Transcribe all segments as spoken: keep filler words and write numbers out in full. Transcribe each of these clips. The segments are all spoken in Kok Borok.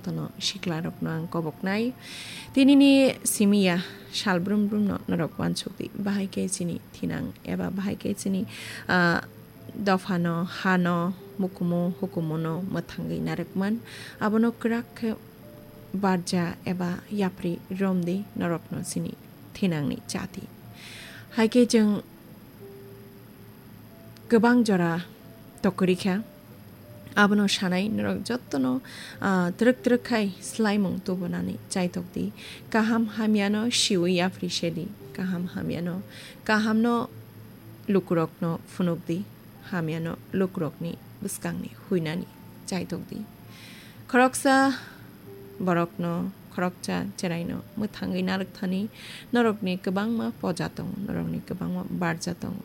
Tono siklarokno ang koboknai. Tinini simiya sal brum brumno norok uansukdi. Bahai khe chini thinang eba bahai khe chini, ah, dophano, hano, mukumu, hukumuno mwthangwi narwkman. Abono kwrak khe barja eba yapri romdi norokno chini thinangni chati. Hai khe chwng kwbang jora tokwrwi kha. Abono sanai norok jottono, ah, twrwk twrwk khai swlaimung tubunani chaitok di. Kaham hamyano siwi yapri sedi. Kaham hamyano, kahamno lukurokno phunuk di. Hamyano lukurokni bwskangni huinani chaitok di. Khoroksa borokno, khoroksa cheraino mwthangwi narwkthani norokni kwbangma poja tongo, norokni kwbangma barja tongo.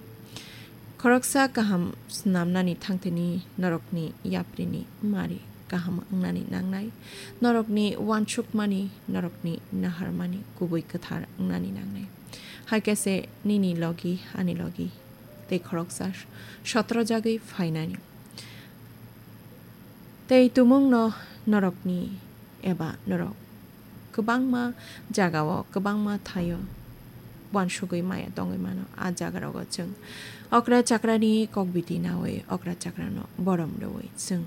Khoroksa kaham snamnani thangthini norokni yaprini mari kaham wngnani nangnai, norokni uansukmani, norokni naharmani kubui kwthar wngnani nangnai. Hai khe se nini logi, ani logi tei khoroksa sotrojagwi phainani. Tei tumungno norokni eba norok kwbangma jagao, kwbangma thaio uansugwi maya tongwi mano. A jagarogo chwng okra chakrani kokbiti naui okra chakrano borom rwui chwng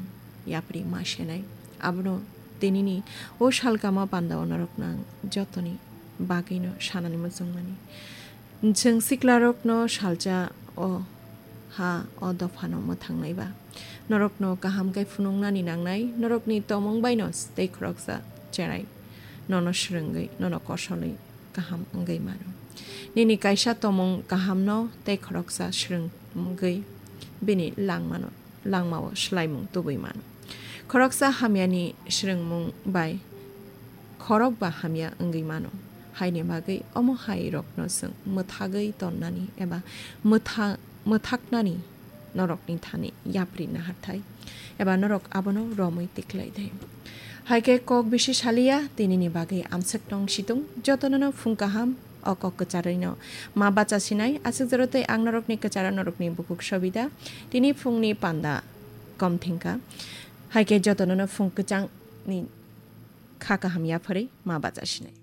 yapri ma senai. Abono tinini o salkama pandao norokno ang jotoni bagwino sanani muchungmani. Chwng siklarokno salsa o ha o dophano mwthangnai ba. Norokno kaham khe phunuknani nangnai, norokni tomong baino tei khoroksa cherai nono swrwngwi, nono kosolwi kaham wngwi mano. Nini kaisa tomong kahamno tei khoroksa swrwngwi bini langmano, langmao swlaimung tubui mano. Khoroksa hamyani swrwngmung bai khorok ba hamya wngwi mano. Haini bagwi omo hai rokno chwng mwthagwi tonnani eba mwtha-, mwthaknani norokni thani yapri naharthai eba norok abono romwi tiklai thai. Hai khe kok bisi saliya, tinini bagwi amswk tong situng, jotonono phung kaham, o kok kwcharwino ma bacha sinai, aswk jora tei ang norokni kwcharo norokni bukhuk Sobida, tini phungni panda kom thengkha. Hai khe jotonono phung kwchangni kha kaham yapharwi ma bacha sinai.